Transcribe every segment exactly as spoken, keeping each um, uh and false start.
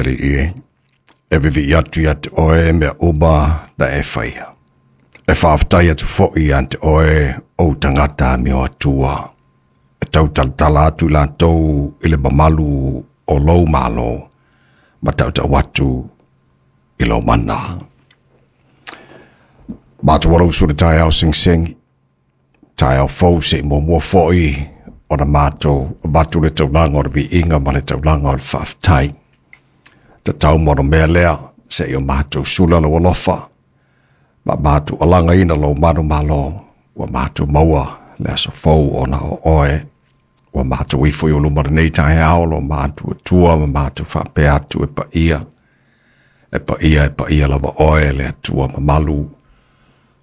le alii e, e vivi'i atu ia te oe mea uma na e faia. E faafetai atu fo'i ia te oe ou tagata amio atua. E tautalatala atu i latou i le mamalu o lou malo, ma tautau atu i lou mana. Matou alausu le taeao segisegi, taeao fou se'i muamua fo'i ona matou avatu le taulaga o le viiga ma le taulaga o le faafetai. Tatau ma mea lea se'i o matou sula lou alofa, ma matou alagaina lou manumalo ua matou maua le aso fou ona o oe. Ua matou ifo i ou luma lenei taeao lo matou Atua ma matou faapea atu e paia. E paia e paia lava oe le Atua mamalu,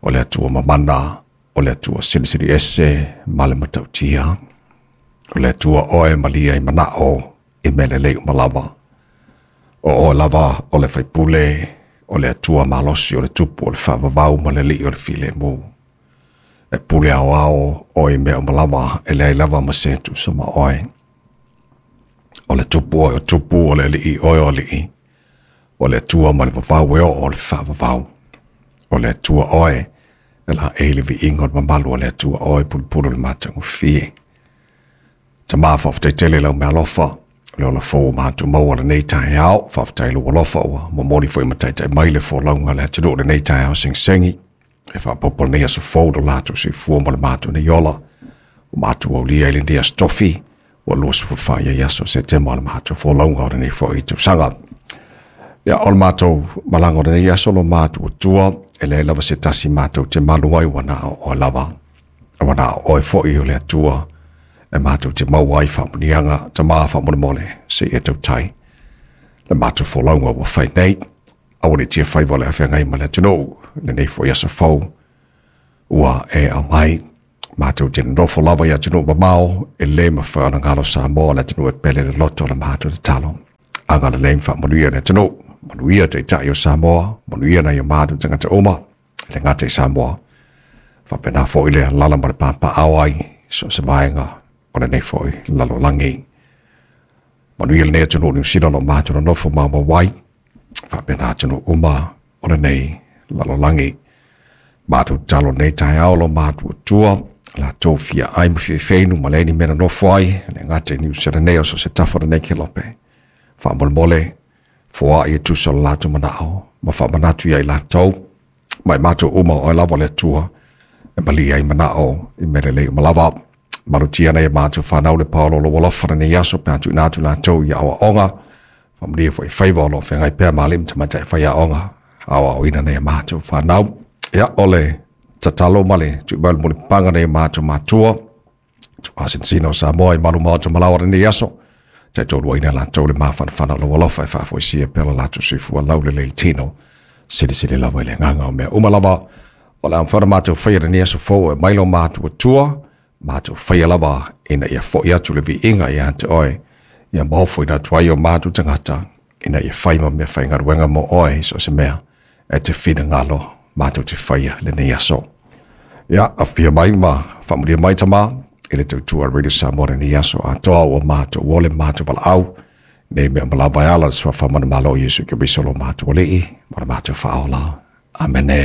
o le Atua mamana, o le Atua silisili ese ma le matautia. O le Atua oe malia i manao i mea lelei uma lava. O oe lava o le faipule, o le Atua malosi o le tupu o le faavavau ma le alii o le filemu. E pule aoao oe i mea uma lava e leai lava ma se tusa ma oe. O le tupu oe o tupu, o le alii oe o alii, o le Atua ma le vavau e oo o le faavavau. O le Atua oe, e laei le viiga o le mamalu o le Atua oe pulupulu le matagofie. Tama faafetai tele lau meaalofa, le ola fou o matou maua lenei taeao, faafetai lou alofa ua momoli foi ma taitai mai le folauga le atunuu lenei taeao segisegi. E faaopoopo lenei aso fou lo latou soifua ma le matou nei ola. Ua matou aulia i lenei aso tofi, ua luasefulu fa i ai aso o Setema o le matou folauga o lenei foi tausaga. Ia, o le matou malaga o lenei aso lo matou Atua, e leai lava se tasi matou te malu ai ua na o oe lava. Ua na o oe foi o le Atua e matou te maua ai faamuniaga tama faamolemole se i e tautai. Le matou folauga ua fai nei, aua ne i tia faiva o le afeagai ma le atunuu, lenei foi aso fou ua e aumai. Matou te nonofo lava i atunuu mamao, e le mafai ona galo Samoa le atunuu e pele le loto o le matou tatalo. Agalelei ma faamanuia le atunuu, manuia taitai o Samoa, manuia nai o matou tagata uma, e le gata i Samoa. Faapena foi le alaala ma le papaao ai, so o se vaega o lenei foi lalolagi. Manuia lenei atunuu o Niu Sila o lo o matou nonofo maumau ai, faapena atunuu uma o lenei lalolagi. Matou tatalo lenei taeao lo matou Atua, latou fia ai ma fia feinu ma leai ni mea nonofo ai, le gata i Niu Sila nei o so o se tafa o lenei kelope. Faamolemole, foai e tusa o le latou manao, ma faamanatu ia i latou, ma i matou uma o oe lava o le Atua, e malie ai manao i mea lelei uma lava. Malutia nai a matou fanau le paolo o lou alofa lenei aso pe a tuuina atu latou i aoaoga, faamanuia foi i faiva o lo o feagai pea ma alii ma tamaitai faiaoga, aoaoina nai a matou fanau. Ia, o le tatalo ma le tuu mai o le mulipapaga nai a matou matua, tuuasinasina o Samoa i malu maota malaoa lenei aso, taitoluaina latou le mafanafana o lou alofa e faafoisia pea lo latou soifua laulelei i le tino, silisili lava i le agaga o mea uma lava. O le a mafai ona matou faia lenei aso fou e mai lo matou Atua, matou faia lava ina ia fo'i atu le viiga ia te oe, ia maofoina atu ai o matou tagata, ina ia fai ma mea faigaluega mo oe i so o se mea e te finagalo matou te faia lenei aso. Ia, afifio mai ma faamanuia mai tama i le tautua Radio Samoa lenei aso atoa ua matou ole matou valaau, nei mea uma lava e ala i le suafa manumalo o Iesu Keriso lo matou Alii ma le matou Faaola. Amene.